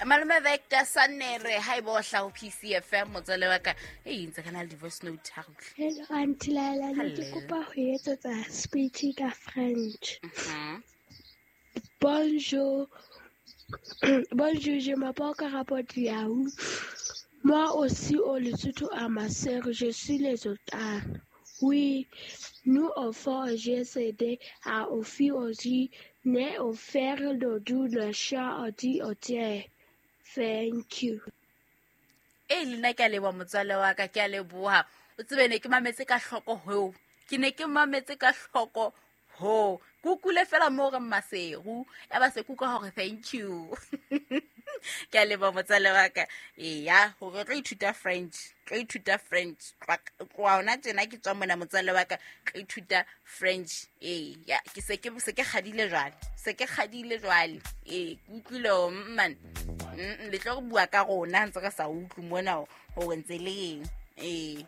Malome Vector Sanere, ha ebe o hlaho PCFM, motswalle wa ka, e ntse ka na le di-voice note ha re. Hello, Aunty Laila, ne ke kopa ho etsetsa speech ka French. Bonjour. Bonjour, je m'appelle Karabo Diaou. Moi aussi, au Lesotho à ma sœur, je suis les Otanes. Oui, nous offrons GCD à offrir aussi, né offert le doux le chat dit au. Thank you. E le nna ke a leboha, motswalle wa ka, ke a leboha. O tsebe, ne ke mametse ka hloko hoo, ke ne ke mametse ka hloko ho kukule fela mo re Maseru, ya ba se kuka hore thank you. Ke a leboha, motswalle wa ka. Eya, hore tlo ithuta French, tlo ithuta French tloa hona tjena. Ke tswa mona, motswalle wa ka, tlo ithuta French. Ee ya, ke se ke kgadile jwale, se ke kgadile jwale. Ee, ke utlwile man, le tlo re bua ka rona ntse re sa utlwe mona hore ntse le eng. Ee.